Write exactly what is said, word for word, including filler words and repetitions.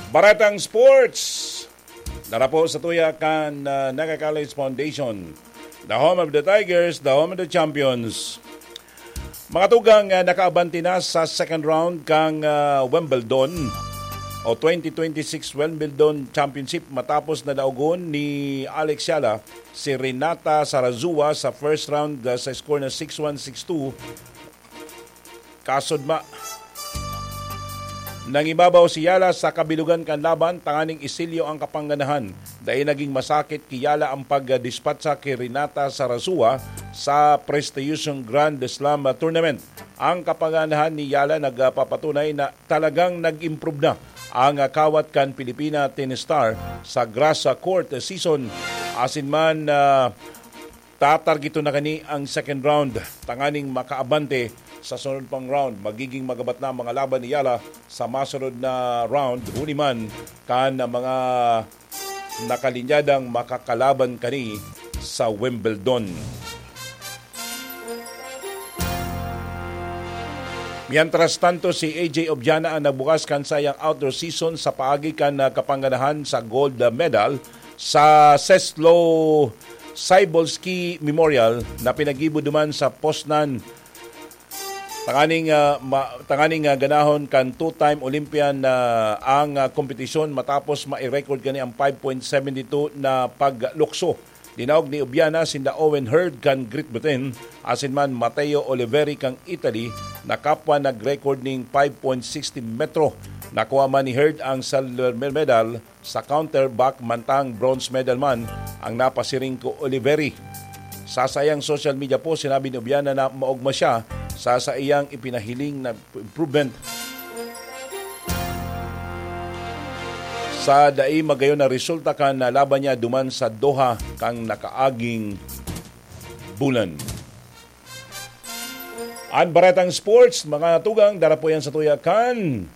Baretang Sports, darapo sa tuya kan uh, Naga College Foundation. The home of the Tigers, the home of the champions. Mga tugang, uh, nakaabante na sa second round kang uh, Wimbledon o twenty twenty-six Wimbledon Championship matapos na daogon ni Alex Yala si Renata Sarazua sa first round uh, sa score na six one, six two. Kasod ma. Nangibabaw si Yala sa kabilugan kan laban tanganing isilyo ang kapangganahan. Dai naging masakit ki Yala ang pagdispatsa ki Renata Sarazua sa prestigyosong Grand Slam Tournament. Ang kapangganahan ni Yala nagpapatunay na talagang nag-improve na ang kawat kan Pilipina tennis star sa grass court season. Asin man, ah, tatargeton na kani ang second round tanganing makaabante sa sunod pang round. Magiging magabat na ang mga laban ni Yala sa masunod na round, huli man kan mga nakalinyadang makakalaban kani sa Wimbledon. Mientras tanto, si A J Obiana ang nagbukas kan sayang outdoor season sa paagi kan ah, kapangganahan sa gold medal sa Seslo Cybulski Memorial na pinaggibo duman sa Poznan. Tanganing, ah, ma- tanganing ah, ganahon kan two-time Olympian na ang ah, kompetisyon matapos mai-record kani ang five point seven two na paglukso. Dinaog ni Obiana sinda Owen Hurd kan Great Britain, asin man Matteo Oliveri kan Italy, na kapwa nag-record ning five point sixty metro. Nakuha man ni Hurd ang silver medal sa counter back, mantang bronze medal man ang napasiring ko Oliveri. Sa saiyang social media post, sinabi ni Obiana na maogma siya sa saiyang ipinahiling na improvement sa dai magayon na resulta kan laban niya duman sa Doha kan nakaaging bulan. An Baretang Sports, mga tugang, darapo yan sa tuya kan